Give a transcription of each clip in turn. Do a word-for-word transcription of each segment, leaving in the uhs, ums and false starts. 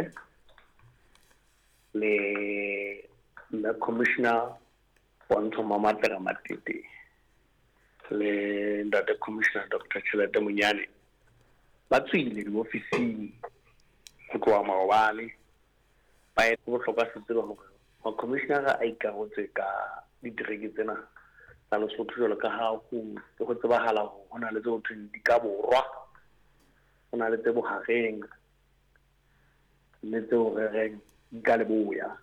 Molefe le mme Commissioner Pontsho Mamatla Matete le ntate Commissioner Doctor Tjhelete Monyane ba tswile diofising ho tloha maobane. Ba e bohlokwa se tseba hore ma-commissioner a ikarotse ka ditereke tsena tsa Lesotho jwalo ka ha ho ho tsebahala hore ho na le tse ho thweng di ka borwa, ho na le tse bohareng le tseo re reng di ka leboya.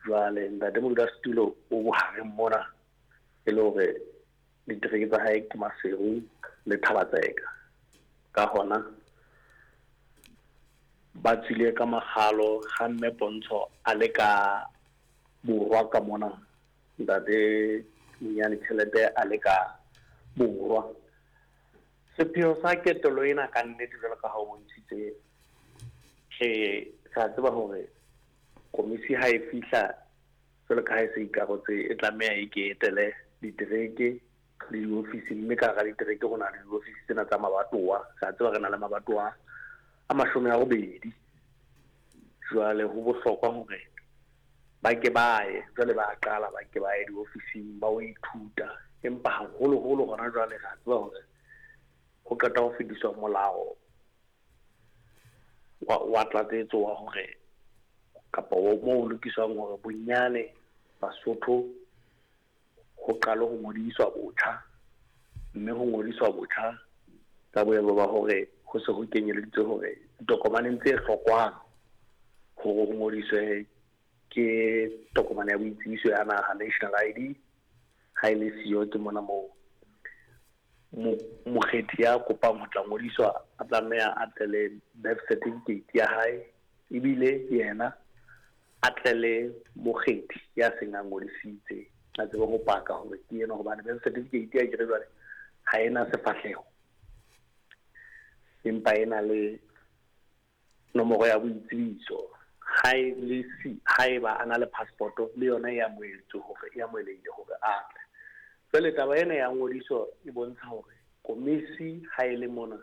Jwale ntate modulasetulo o bohareng mona e le hore ditereke tsa hae ke Maseru le Thaba-Tseka. Ka hona ba tswile ka makgalo ha mme Pontsho a le ka borwa ka mona, ntate Monyane Tjhelete a le ka borwa. Sepheo sa ketelo ena ka nnete jwalo ka ha o bontshitse, re re a tseba hore komisi ha e fihla jwalo ka ha e se ikarotse e tlameha e ke etele ditereke le diofisi, mme ka hara ditereke ho na le diofisi tsena tsa mabatowa. Re a tseba re na le mabatowa a mashome a robedi. Jwale ho bohlokwa hore ba ke ba ye, jwale ba qala ba ke ba ye diofising ba o ithuta. Empa haholoholo hona jwale re a tseba hore ho qeta ho fetiswa molao wa, wa tlatsetso wa hore kapa o moo ho lokiswang hore bonyane Basotho ho qale ho ngodiswa botjha, mme ho ngodiswa botjha ka boemo ba hore ho se ho kenyeleditswe hore ditokomaneng tse hlokwang hore ho ngodiswe ke tokomane ya boitsebiso ya naha, national I D. Ha e le siyo ke mona moo mokgethi ya kopang ho tla ngodiswa a tlameha a tle le birth certificate ya hae, ebile yena a tle le mokgethi ya seng a ngodisitse a tsebe ho paka hore ke yena, hobane birth certificate ya kere jwale ha ena sefahleho empa e na le nomoro ya boitsebiso. Ha e le si haeba a na le passport le yona e amohetswe hore e amohelehile hore a tle. Jwale taba ena ya ngodiso e bontsha hore komisi ha e le mona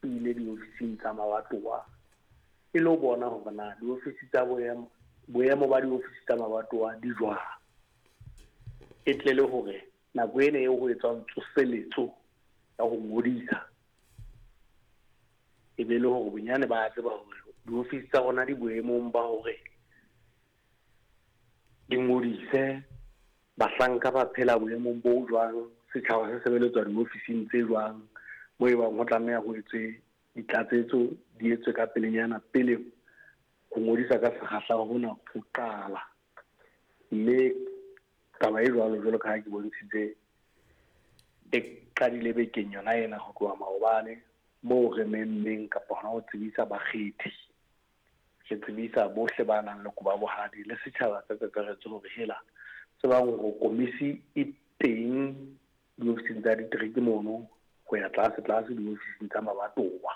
e ile diofising tsa mabatowa e lo bona hore na diofisi tsa boemo boemo ba diofisi tsa mabatowa di jwang, e tle le hore nako ena eo ho etswang tsoseletso ya ho ngodisa e be le hore bonyane ba tseba hore diofisi tsa rona di boemong ba hore di ngodise bahlanka ba phela boemong bo jwang, setjhaba se sebeletswa diofising tse jwang, moo e bang ho tlameha ho etswe ditlatsetso di etswe ka pelenyana pele ho ngodisa ka sekgahla hona ho qala. Mme taba e jwalo jwalo ka ha ke bontshitse e qadile bekeng yona ena ho tloha maobane, moo re memmeng kapa hona ho tsebisa bakgethi, re tsebisa bohle ba nang le kobo ya bohadi le setjhaba ka kakaretso hore hela tsebang hore komisi e teng diofising tsa ditereke mono ho ya tlase tlase diofising tsa mabatowa.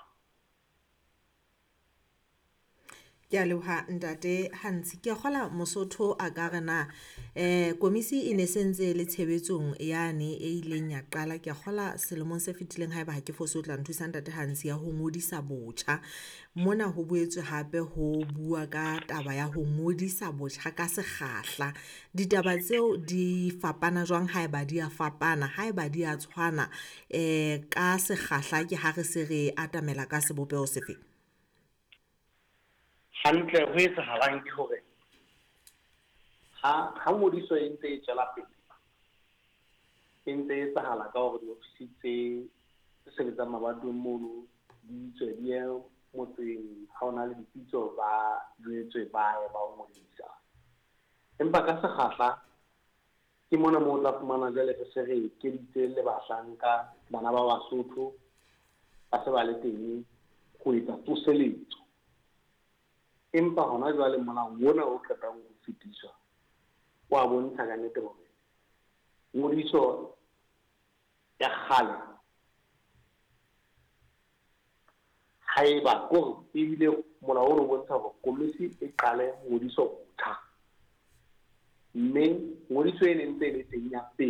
Ke a leboha ntate Hantsi. Ke a kgola Mosotho a ka re na eh komisi e ne sentse le tshebetsong yane e ileng ya qala, ke a kgola selemong se fetileng haeba ha ke fose o tla nthusa ntate Hantsi, ya ho ngodisa botjha. Mona ho boetswe hape ho bua ka taba ya ho ngodisa botjha ka sekgahla. Ditaba tseo di fapana jwang haeba di a fapana, haeba di a tshwana eh ka sekgahla ke ha re se re atamela ka sebopeho sefe? Hantle ho etsahalang ke hore ha ha ngodiso e ntse e tswela pele, e ntse e etsahala ka hore diofisi tse sebetsang mabatoweng mono di tswe di ye motseng, ha hona le dipitso ba jwetswe ba ye ba o ngodisa. Empa ka sekgahla ke mona moo o tla fumana jwale re se re ekeditse le bahlanka bana ba Basotho ba se ba le teng ho etsa tsoseletso. Empa hona jwale molao ona o qetang ho fetiswa wa bontsha ka nnete hore ngodiso ya kgale haeba kore ebile molao ono o bontsha hore komisi e qale ngodiso botjha, mme ngodiso e ne ntse e le teng ya pele.